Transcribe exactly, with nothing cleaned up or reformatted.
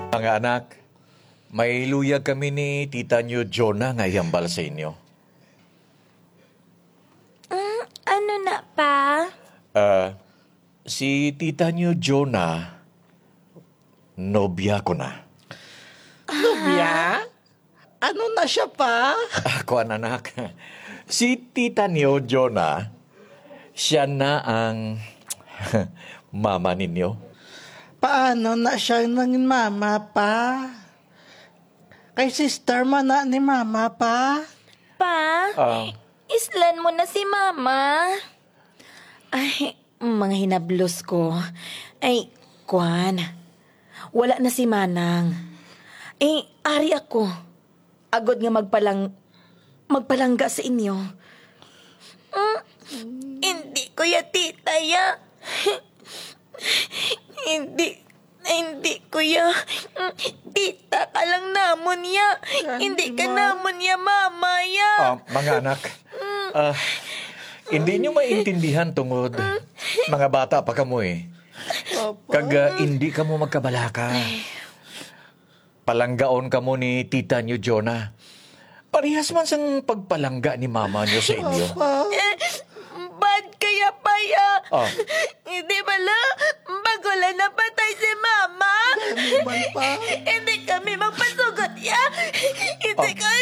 Mga anak, may luyag kami ni tita niyo Jonah nga ihambal sa inyo. Mm, ano na, Pa? Ah, si tita niyo Jonah, nobya ko na. Nobya? Ano na siya, Pa? Ah, kuwan, anak. Si tita niyo Jonah, siya na ang mama ninyo. Paano na siya nangin mama, Pa? Kay sister man na ni mama, Pa. Pa, Ah. islan mo na si mama. Ay, mga hinablos ko. Ay, kwan. Wala na si Manang. Eh, ari ako. Agod nga magpalang-, magpalangga sa inyo. Mm, hindi ko ya, tita, ya. Hindi, hindi ko ya. Mm, tita ka lang namon ya. Hindi ka namon ya, mama ya. Ah, mga anak, ah, hindi nyo maintindihan tungod mga bata pa kamo eh. Kag, ah, hindi kamo magkabalaka. Palanggaon kamo ni tita nyo, Jonah. Parehas man sang pagpalangga ni mama nyo sa inyo. Papa. Eh, bad kaya pa ya. Ah. Hindi bala, bago lang napatay si mama. Hindi man pa. Hindi kami magpasugot ya. Hindi Ah. kami